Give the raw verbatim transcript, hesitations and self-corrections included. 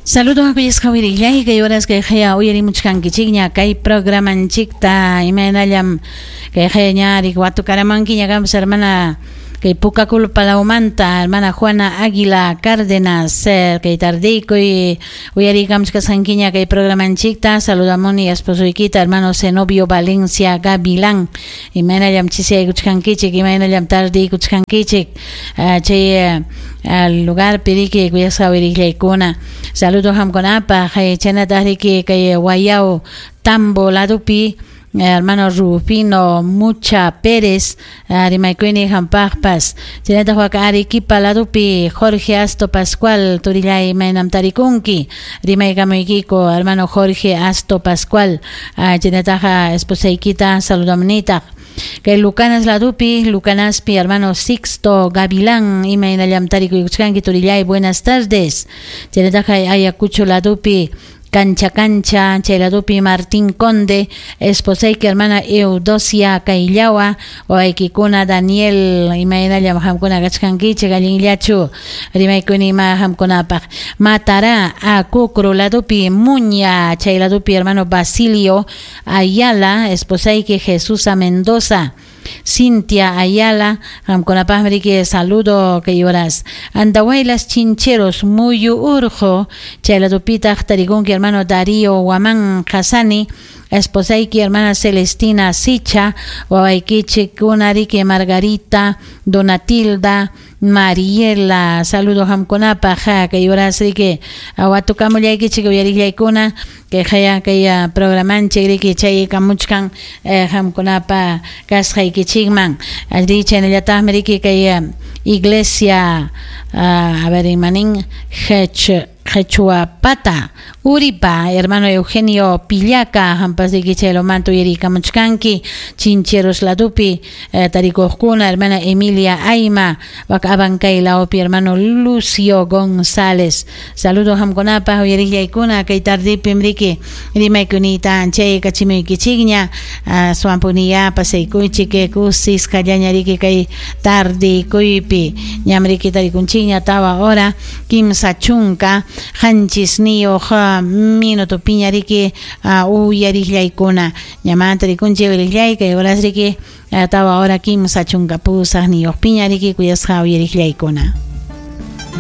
Saludos kuyasqa wirillay kay horas kay haya uyarimuchkankichikña kay programanchikta imaynallam kay haya ñarik watukaramankiña kampas hermana kay Pucaculpa lawmanta hermana Juana Águila Cárdenas kay tardiykuy uyarikamuchkasqankiña kay programanchikta saludamuni esposoykita hermano Zenobio Valencia Gavilán imaynallam chisiyaykuchkankichik imaynallam tardiykuchkankichik chay al lugar piriki kuyasqa wirillaykuna saludos hamkunapaq chaynataq riki kay Guayao Tambo ladupi hermano Rufino Mucha Pérez rimaykuyni hampaqpas chaynataq waka Arequipa ladupi Jorge Asto Pascual turillay imaynam tarikunki rimaykamuykiku hermano Jorge Asto Pascual chaynataq esposaykita saludamunitaq kay Lucanas ladupi Lucanaspi hermano Sixto Gavilán imaynallam tarikuykuchkanki turillay buenas tardes chaynataq Ayacucho ladupi Cancha Cancha, chay ladupi Martín Conde, esposayki hermana Eudosia Kayllawa, wawaykikuna Daniel, imaynallam hamkuna kachkankichik allinllachu, rimaykuni ima hamkunapaq. Matará, Acucro ladupi Muña, chay ladupi hermano Basilio Ayala, esposayki Jesusa Mendoza, Cintia Ayala, hamkunapaqmi riki saludo kay horas. Andahuaylas Chincheros, Muyu Urjo, chay ladupitaq tarikunki hermano Darío Guamán Hasani, esposayki hermana Celestina Sicha, wawaykichikkuna riki Margarita, Donatilda, Mariela, saludo hamkunapaq kay horas riki watukamullaykichik uyarillaykuna kay haya kay programanchik riki chaykamuchkan hamkunapa kasqaykichikman allí chaynallataqmi riki kay iglesia a ver imanin Hech Quechuapata Uripa hermano Eugenio Pillaca hampas riki chaylomanta uyarikamuchkanki Chincheros ladupi eh, tarikuqkuna hermana Emilia Aima wak Abancay lawpi hermano Lucio González saludos hamkunapaq uyarillaykuna kay tardipim riki rimaykunita chay kachimuykichikña uh, suampuniya pasaykuychik kusisqallaña riki kay tardikuypi ñam riki tarikunchikña tawa hora kimsa chunka qanchisniyuq minuto piña riki uh, uyarillaykuna ñamanta rikunchik uyarillay kay horas riki tawa hora kimsa chunka pusaqniyuq piña riki kuyasqa uyarillaykuna.